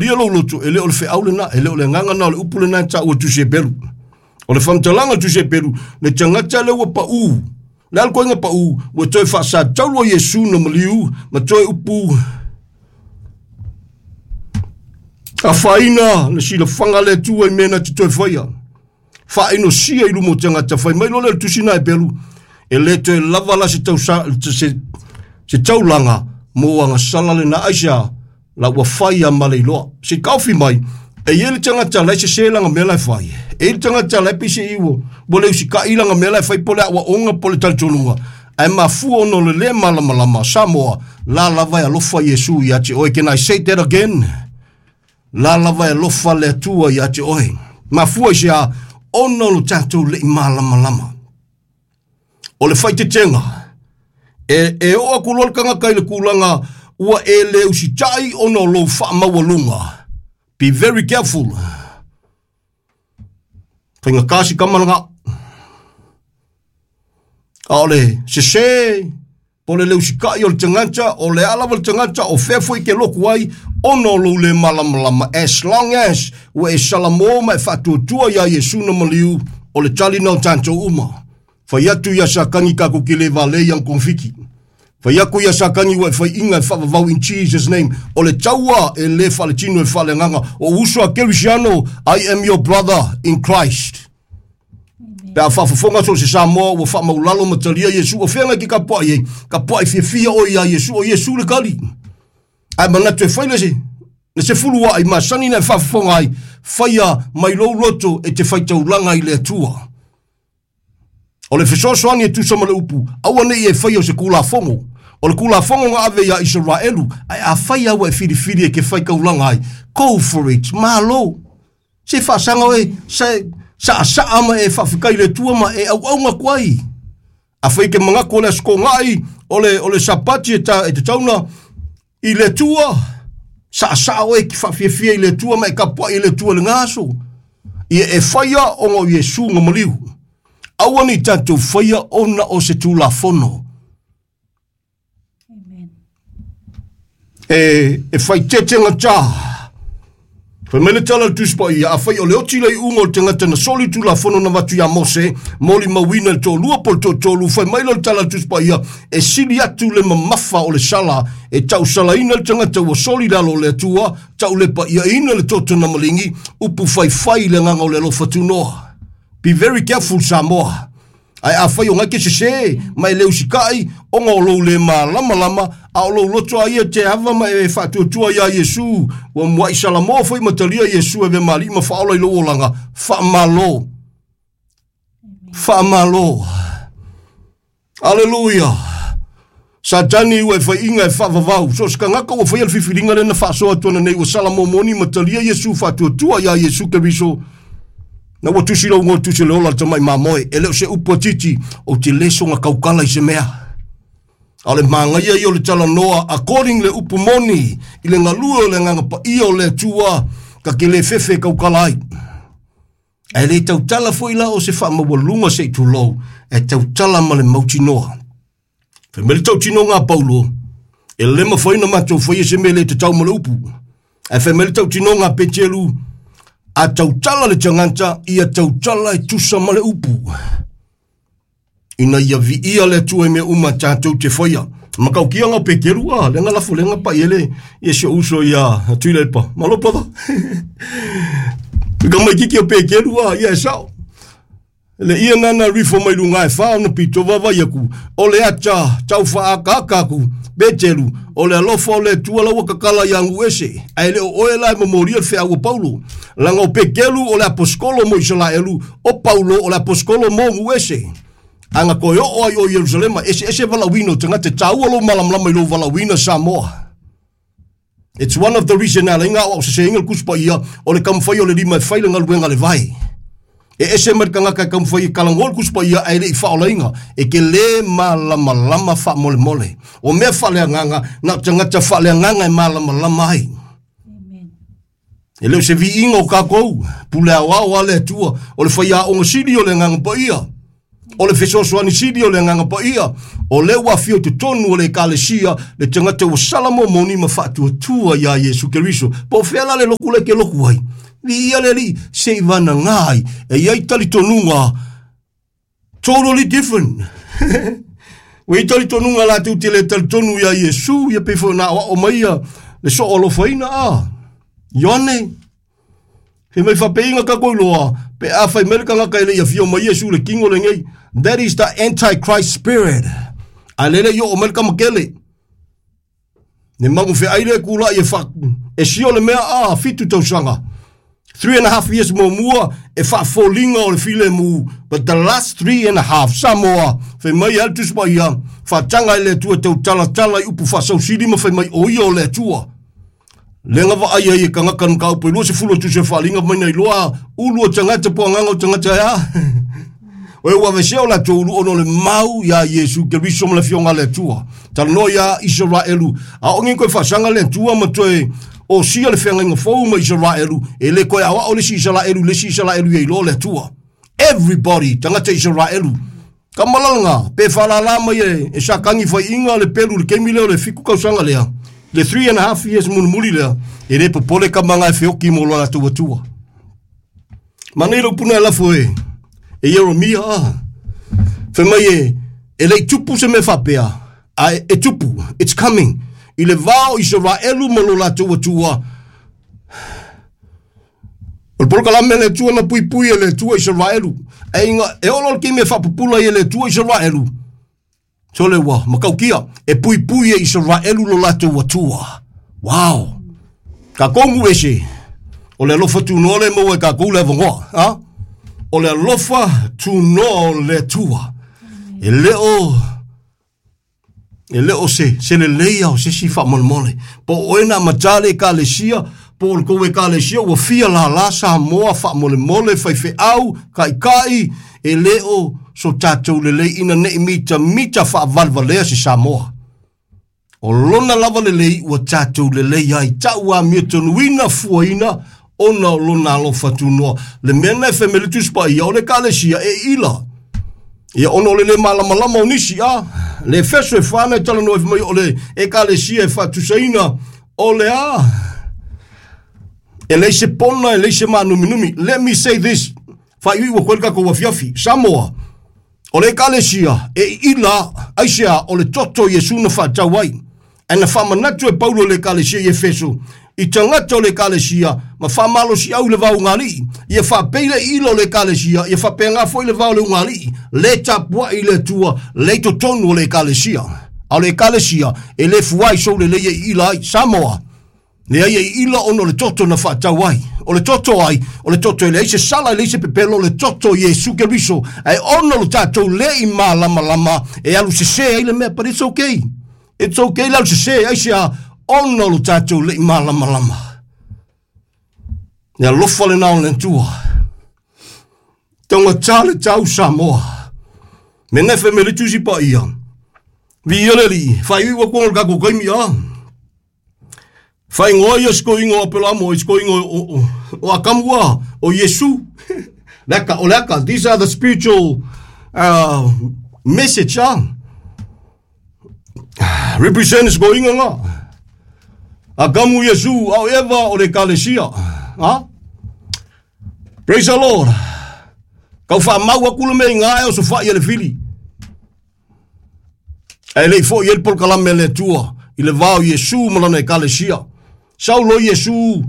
Lia lou loto, e le o le feau lena, e le o le agaga na o le upu lena e taua Tusi Heperu. O le faamatalaga Tusi Heperu, le tagata lea ua pau, le a le koiga pau, ua toe faasataua Iesu na maliu, ma toe upu afaina le silafaga a le Atua i mea na te toe faia. Faainosia i luma o tagata, fai mai loa lea o le Tusi na Heperu, e le toe lava la se, tausa, se, se taulaga mo agasala lena aisea la ua fai a ma le iloa. Se taofi mai, e i ai le tagata la e sese lana mea la e fai. E i ai le tagata la e pei se i ua, ua le usitai lana mea la e fai po o le aoaoga po o le talitonuga. Ae mafua ona o le le malamalama, Samoa, la lava e alofa Iesu ia te oe. Can I say that again? La lava e alofa le Atua ia te oe. Mafua i se a, ona o lo tatou le i malamalama. O le faaeteetega, e, e oo atu loa le tagata i le tulaga ua e le usitai ona o lou faamaualuga. Be very careful. Faigata si tama lena. A o le sese po o le le usitai o le tagata, o le a lava le tagata, o fea foi ke loku ai, ona o lou le malamalama, as long as ua e salamo ma e faatuatua iā Iesu na maliu, o le tali na o tatou uma. Fai atu ia Satani tatou te le valea i ana togafiti. Fai atu ia Satani ua e faiina e faavavau in Jesus name. O le taua e le faaletino e faaleagaga. O uso a Kerisiano, I am your brother in Christ. Pe a faafofoga so o se Samoa ua faamaulalo ma talia Iesu, o fea ngai ke tapuai ai? Tapuai fiafia oe iā Iesu, o Iesu le tali. Ae manatu e fai le se, le sefuluai masani na e faafofoga ai, faia mai lou loto e te faitaulaga i le Atua. O le fesoasoani e tusa ma le upu, aua ne i e faia o se Tulafono. O le Tulafono na ave iā Isaraelu, ae afai lava ua e filifili e te faitaulaga ai, go for it, malo. Se faasaga oe, se saasaa ma e faafetai i le Atua ma e auauna atu ai. Afai e te manatu o le Aso Toonai, o le, o le Sapati e, ta, e tatau na i le Atua, saasaa oe e te faafiafia i le Atua ma e tapuai i le Atua i lena aso. Ia e faia ona o Iesu na maliu. Aua ne i tatou faia ona o se Tulafono. E, e faaeteete gata. Fai mai le tala a le Tusi Paia, afai o le oti le iuga o le tagata na soli le Tulafono na avatu ia Mose, molimauina i le toalua po o le toatolu, fai mai lea o le tala a le Tusi Paia, e sili atu le mamafa o le sala e tausalaina le tagata ua soli le alo o le Atua, taulepaiaina le toto na maligi, upu faifai i le agaga o le alofa tunoa. Be very careful Samoa. Ae afai o ngai ke sese, ma e le usikai, ona o lou le malamalama, a o lou loto a ia te ava ma e faatuatua iā Iesu, ua muaʻi Salamo foi ma talia Iesu e avea ma Alii ma Faaola i lou olaga, faamalo. Faamalo. Aleluia. Satani ua e faiina e faavavau. So o se tagata ua faia le filifiliga lea na faasoa atu ana nei ua Salamo moni ma talia Iesu faatuatua iā Iesu Keriso. Na ua tusi lou igoa tusi o le ola a le tamai mamoe. E le o se upu a Titi, ou te le soga tautala i se mea. A o le manaia ia o le talanoa according le upu moni i le galue o le Agaga Paia o le Atua ta te le fefe e tautala ai. Ae le tautala foi la o se faamaualuga se i tulou, ae tautala ma le mautinoa. Fai mai le tautinoga a Paulo, e le mafai ona matou faia se mea le tatau ma le upu. Ae fai mai le tautinoga a Peteru, a tautala le tagata, ia tautala e tusa ma le upu. Ina ia viia le Atua i mea uma tatou te faia. Matautia o Peteru, a, lea na lafo lea na pai ele, ia si ou uso ia Tuilaepa. Malo brother. Ka mai kiki o Peteru, a, ia e sao. Le ia nana rifo mai luga e wha ona pito vaavaai aku, o le ata tau whaakaaka aku, Peteru, o le alofa o le Atua la ua kakala ia nuu ese, ae le o oe la e momolia le feau a Paulo. Leaga o Peteru o le aposikolo mo Isalaelu, o Paulo o le aposikolo mo nuu ese. A na toe oo ai o Ierusalema, eseese valaauina o tagata, e taua lou malamalama i lou valaauina Samoa. It's one of the reason na ala ai na aoao seseina le Tusi Paia, o le taumafai o le lima e fai le galuega a le vae. E ese mai le tagata e taumafai e talanoa le Tusi Paia ae le i faaolaina, e te le malamalama faamolemole. O mea faaleagaga, na o tagata faaleagaga e malamalama ai. E le o se viiga o tatou, pule aoao a le Atua, o le faiaoga sili o le Agaga Paia. O le fesoasoani sili o le Agaga Paia, o lea ua afio i totonu o le Ekalesia le tagata ua sala momoni ma faatuatua iā Iesu Keriso. Po o fea la le loku lea e te loku ai? Viia le Alii, se i vanaga ai, e i ai talitonuga totally different. Ua i ai talitonuga latou te le talitonu iā Iesu, ia pei foi ona aoao mai ia le soo alofaina a Ioane. Fai mai faapeiga tatou iloa, pe a fai mai le tagata e le i afio mai Iesu i le tino lenei, that is the antichrist spirit. A lele i oo mai le kamakele. Ne magu feai le kula i e fa, e sio le mea a 7 tausaga. 3.5 years muamua e faafoliga o le filemu, but the last 3.5, Samoa, fai mai e alu Tusi Paia, faataga e le Atua tautalatala i upu faasausili ma fai mai o ia o le Atua. Lega vaai ai e tagata na mataupu e 20 o tusi o faaliga mai na iloa ulu o tagata po agaga o tagata e a. O e ua aveesea o latou ulu ona o le mau iā Iesu Keriso ma le Afioga a le Atua. Talanoa iā Isaraelu, a o toe faasaga le Atua ma toe osia le feagaiga fou ma Isaraelu, e le toe aoao le isi Isaraelu le isi Isaraelu ia iloa le Atua. Everybody, tagata Isaraelu. Kamalalaga, pe whaalala mai e sa kangi fai inga le pelu le kemi leo le 7 tausaga lea. Le 3.5 years mulimuli lea, e le popole ka manga e feoki mo lo latou atua. Manei lau puna e lafo e Ieremia a. Fai mai e lei tupu se mea faapea, a e tupu, it's coming. I le vao Israelu ma lo latou atua, o le polokalame le Atua na puipui e le Atua Israelu. E inga, e olo le kime whapupula i le Atua Israelu. So le ua, makaukia, e puipui e Israelu lo latou atua. Wow. Ka kongu ese, o le alofa tunoa le maua e kākou le avanoa. Ha? O le alofa tunoa o le Atua. E le o se lelei au se si whaamolemole. Po o e na matale ekalesia, po o le kou ekalesia, ua fia la la Samoa whaamolemole, whaiwheau, kai kai, e le o so tātou lelei ina nei mita mita whaavalvalea se Samoa. O lona lava lelei ua tātou lelei ai, tau a mea tonuina fuaina, ona o lona alofa tunoa. Le mea na e whemele tuspa ia o le ekalesia e ila. Ia ona o le le malamalama o nisi a. Le Efeso e 4 e talanoa e mai o le ekalesia e faatusaina o le a. E leai se pona, e leai se mānuminumi. Let me say this. Whai ua koe kako afiafi. Samoa. O le ekalesia e ila aisea o le toto Iesu na whaatau ai. E na whamanatu e Paulo le ekalesia i Efeso. I tagata o le ekalesia, ma whamalosi au le vau ngalii. Ia whapeile ilo le ekalesia, ia whapenga foi le vau le ngalii. Le tapua i le tua, le totonu o le ekalesia. A o le ekalesia, e le fuai sou le leia i ila ai. Samoa. Le ai e ila ono le toto na whaatau ai. O le toto ai, o le toto e leai se sala, e leai se pepelo, o le toto Iesu Keriso. Ai ono lo tātou le i malamalama, e alu se se ai le mea, but it's okay. It's okay le alu se se, ai se a ono lo tātou le i malamalama. Le alofa le nao le tua. Tonga tale tau Samoa. Me nefe me le tusi pa ia. Vi ia le li, whai iwa kuanga le kako kaimi a. Whai ngoa ia siko ingo a pela mo, siko ingo o akamua, o Yesu. Leka, o leka, these are the spiritual message, ah. Represent siko ingo nga. Akamu Yesu, au Eva o le ekalesia. Ha? Praise the Lord. Kau wha mau aku le mea ngā e o so wha i le fili. E lei fo i el polokalame le Atua i le vao Iesu ma lana ekalesia. Saulo Iesu.